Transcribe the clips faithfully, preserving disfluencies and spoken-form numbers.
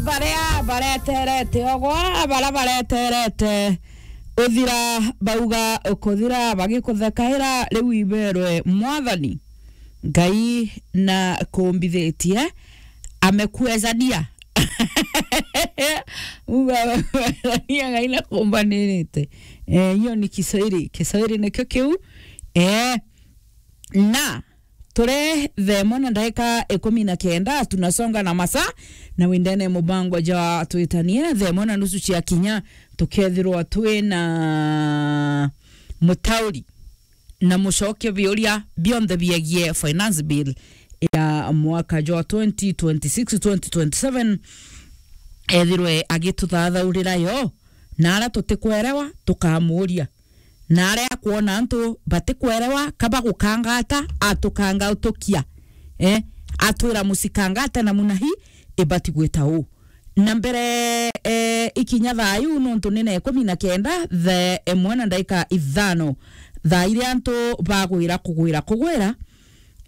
Baria bareterete ogwa, baria bareterete uthira, bauga ukuthira, bagikuthekaira, riu iberwe Mwathani Ngai na kumbithitie, amekuezania. Uga, Ngai na kumbanirite. Eh, hiyo ni Kiswahili. Kiswahili nikio kiu. Eh, na turi thaa imwe na ndagika ikumi na kenda, tunasonga na masaa, na windene mubango jwa twitanie thaa imwe na nusu cia kinya, tukethirwa twi na mutauri na mucokia biuria bionthe biegie finance bill ya mwaka jwa twenty twenty-six, twenty twenty-seven, ethirwe agituthathaurira yo, na aria tutikwerewa tukamuuria. Na aria akwona antu batikwerewa, ka bagukanga ata, atukangautukia. Eh, atwira musikanga ata na munahi, ibati gwita uu. Na mbere, eh, ikinya thaa iu, nontu ni na ikumi na kenda, thaa imwe na ndaika ithano, thaa iria antu bagwira kugwira kugwira,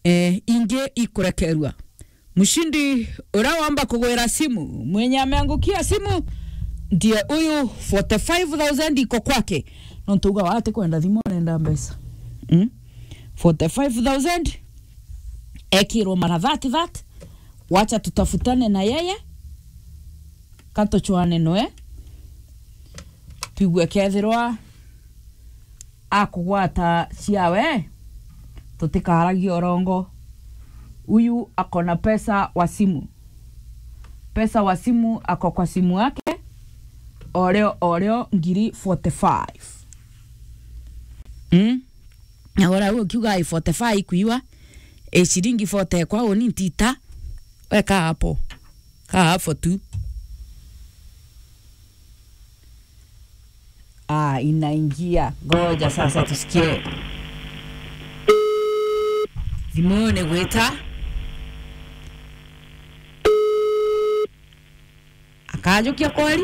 eh, ingi ikurekerua. Mshindi uria wamba kugwira simu, mwenye ameangukia simu, ndiye huyu, forty-five thousand iko kwake. Nontu uga wati kwenda thimu, arenda mbeca. Mm? Forty-five thousand, ekirwo mara thirty that, wacha tutafutane na yeye, ka tuchwane noe, twigue kethirwa akugwata ciawe, tutikaragia urongo. Huyu ako na pesa wa simu. Pesa wa simu ako kwa simu yake, oreo, oreo, ngiri forty-five. Mm? Na ora huo kiuga ai forty-five kuiwa, e, shilingi forty kwa uni ntita, weka hapo. Kaa hapo tu. Ah, inaingia. Ngoja sasa tusikie. Thimune gwita. Akajukia kweli?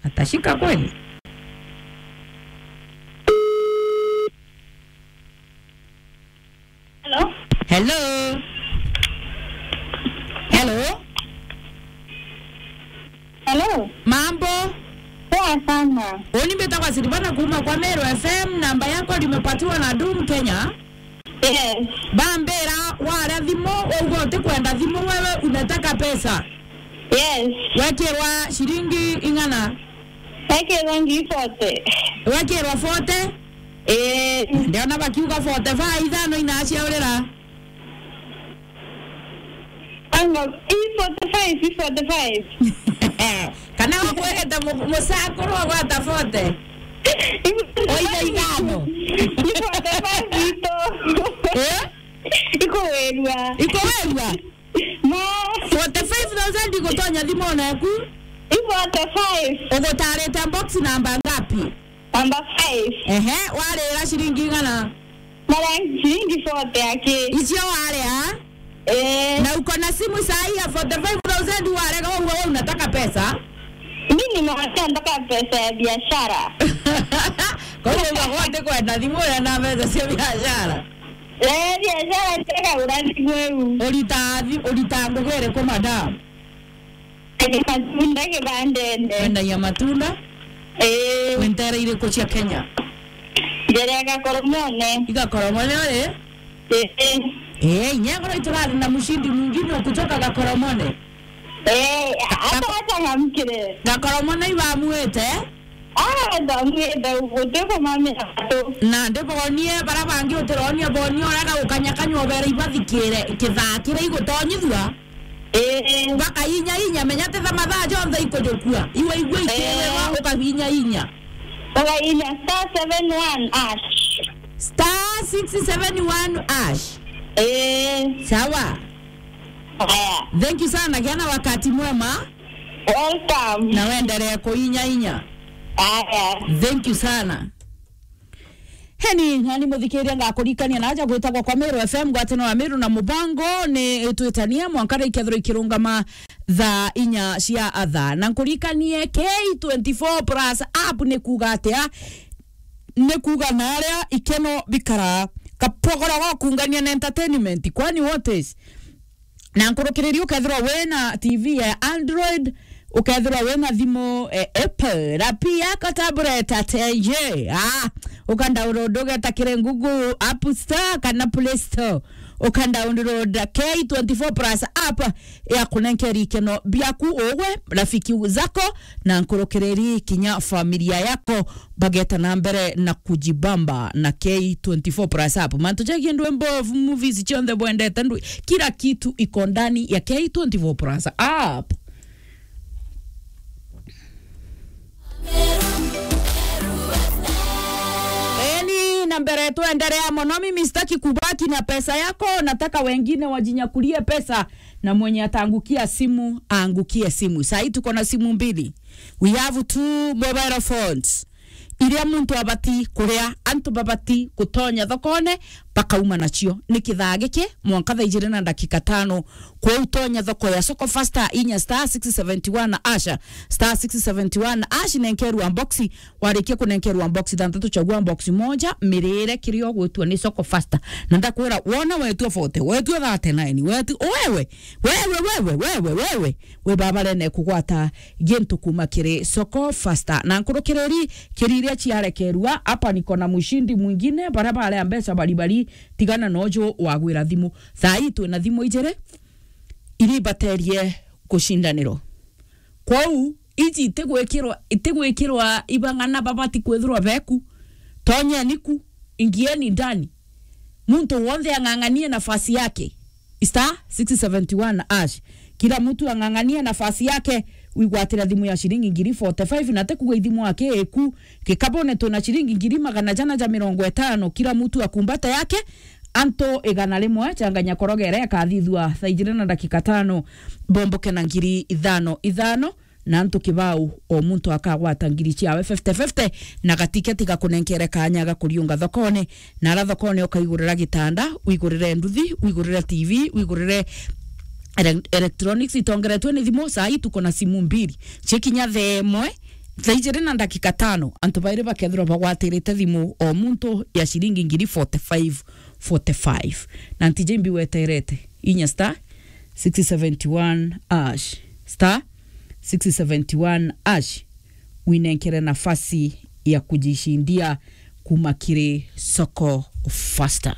Atashika kweli? Hello? Hello? Hello? Hello? Mambo? Poa sana. Uni mbitagwa Silvana kuuma kwa Meru F M, namba yako limepatiwa na Dum Kenya. Yes. Bambira, waria thimu, uga utikwenda thimu, wewe unataka pesa. Yes. Wekirwa shilingi ing'ana? Ekirwa ngiri forty. Wekirwa forty? Eh. Ndiona bakiuga forty-five, ithano inaciaurira. Anga, i forty-five, i forty-five. Kana wakwegete mu-, musakuru agwata forty? Oiga ithano. I forty-five ito. Eh? Ikuwirua. Ikuwirua? Ma. Forty-five thousand igutonya thimone yaku? I forty-five. Ugutarite box namba ngapi? Namba five. Ehe, warira shilingi igana? Mara shilingi forty aki. Icio waria? Eh. Na uko na simu saa hii ya forty-five thousand warega, wewe, wewe unataka pesa? Mimi nimewambia nataka pesa ya biashara. Kwa hivyo uga wote kwenda thimu na mbeca cia biashara. Eh, biashara ntega urandi kweu. Urita thi-, urita ngugi iriku, madam? Ni matunda kibandene. Wendagia matunda? Eh. Wi nteere iriku cia Kenya? Njere ya Gakoromone. I Gakoromone uri? Eh. Eh, inya ngoro iturari na mshindi mwingine wa kutoka Gakoromone. Eh, hata wacha ngamkire. Gakoromone ibamuite? Ah, ndamwenda guti kumamira tu. Na ndibonie bara bangi utironie, bonie urega gukanyakanywa ubere ibathikire kithaa kiria igutonyithua. Eh. Baka inya inya, menya ti tha mathaa jonthe ikujukua. Iwe igua ikiwirwa, eh, ukabinya inya. Ukabinya star seven one hash. Star six seven one hash. Eh. Sawa. Haya. Thank you sana, gia na wakati mwema. Welcome. Na wendelee kuinya inya. Aya. Thank you sana. Heni, nani muthikiria, ngakurikania na aja gwitagwa kwa Meru F M, ngwataniro ya Meru na mubango ni twitania mwanka rikethirwa ikirungama thaa inya cia athaa. Na nkurikanie K twenty-four plus app ni kuuga atia? Ni kuuga na aria ikeno bikara. Kapogora wa kuungania na entertainment. Kwani what is? Na nkurukiriri ukethirwa wina T V ya Android, ukethirwa wina thimu, eh, Apple, na pia ka tablet ata ye. Ah, uka download ugeta kiri Google App Store kana Play Store. Uka download K twenty-four Plus app ya kunenkeri ikeno biaku ugwe, rafiki zako, na nkurukiriri kinya familia yako bageta na mbere na kujibamba na K twenty-four Plus app. Mantu jagi ndwimbo, movies cionthe bwendete, ndwi-, kila kitu iko ndani ya K twenty-four Plus app. Eni, na mbere tuendelea mono. Mimi sitaki kubaki na pesa yako, nataka wengine wajinyakulie pesa, na mwenye ataangukia simu, aangukie simu. Sahi tuko na simu mbili. We have two mobile phones. Iria muntu abati kuria, antu babati gutonya thokone, bakauma nacio. Ni kithaa giki, mwanka thaa ijiri na ndagika tano, kwou tonya thoko ya Soko Fasta, inya star six seventy one hash, star six seventy one hash, nenkerwa box, warikia kunenkerwa box thantatu, chagua box moja, mirire kiria ugwitua ni Soko Fasta. Na ndakwira, wona wetua forty, wetua thirty-nine, wetu-, wewe, wewe, wewe, wewe, wewe, we baba rene kugwata gintu kuma kiri Soko Fasta. Na nkurukiriri kiri iria ciarekerua, hapa niko na mshindi mwingine, baria baria mbeca baribari, tigana nojo wagwira thimu. Thaa ii twina thimu ijiri, iria ibaterie gucindanirwa. Kwou, iji itigwikirwa, itigwikirwa ibang'ana babati kwithirwa beku. Tonyeni ku, ingieni ndani. Muntu wonthe ang'ang'anie nafasi yake. Star six seventy one hash. Kila mtu ang'ang'anie nafasi yake, wigwatira thimu ya shilingi ngiri forty-five, na tikuga ithimu yake iku. Kikabone twina shilingi ngiri magana jana ja mirongo itano. Kila mtu akumbate yake, antu igana rimwe, changanya korogere, ikathithua thaa ijiri na ndagika tano, bomboke na ngiri ithano ithano. Na antu kibau, o muntu akagwata ngiri ciawe fifty fifty, na gatiketi gakunenkere kanya ga kuriunga thokone, na ara thokone ukaigurira gitanda, wigurire nduthi, wigurire T V, wigurire ele-, electronics itongeretwe ni thimu. Saa hii tuko na simu mbili. Cikinya thaa imwe, thaa ijiri na ndagika tano, antu bairi bakethirwa bagwatirite thimu, o muntu ya shilingi ngiri forty-five, forty-five. Na ntiji mbi weterete, inya star six seventy one hash, star six seventy one hash, winenkere nafasi ya kujishindia kuma kiri Soko Fasta.